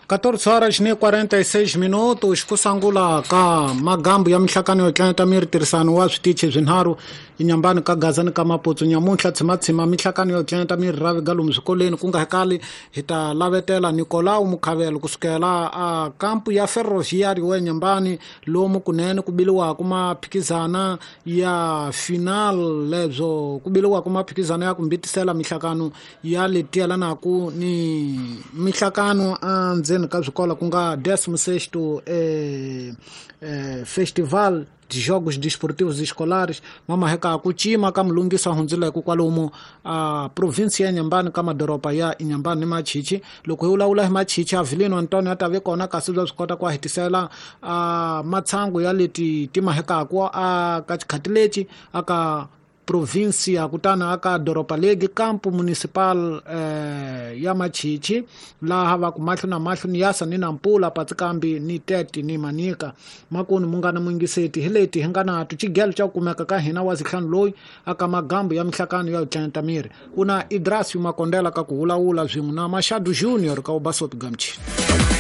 14 horas ni 46 minutos ku sangula ka magambu ya minhlakano yo tlangeta miri tirhisano wa switichi swinharhu inyambani ka Gaza ni ka Maputsu nyamuntlha tshimatshima minhlakano yo tlangeta miri ra vika lomu swikolweni ku nga hekali hi ta lavetela Nicolau Mukhavelo kusukela a kampu ya Ferroviário wa Nyambani lomu kunene ku biliwaka maphikizana ya final lebyo ku biliwaka maphikizana ya ku mbitisela minhlakano ya leti yelanaka ni minhlakano endzeni ka swikolo ku nga 16º Festival de Jogos Desportivos Escolares mamaheka ku cima ka mulungisa hundzileke kwalomu a provinsi ya Nyambani ka madoroba ya Inyambani ni Machichi. Loko hi vulavula hi Machichi, Avelino Antonio a ta ve kona kasi bya swi kota ku hetisela a matshangu ya leti ti mahekaku a ka xikhati lexi aka província kutani aka doroba legi campo municipal ya Machichi laha va ku mahlo na mahlo ni yasa ni Nampula Patsikambi ni Tete ni Manika. Makuni mungana muyingiseti hi leti hi nga na tuchigelo xa ku kumeka ka hina wa zihlanu loyi aka magambu ya minhlakano ya tlenta miri una Idrasio Makondela ka ku vulavula swin'we na Machado Junior ka Ubasopi Gamchi.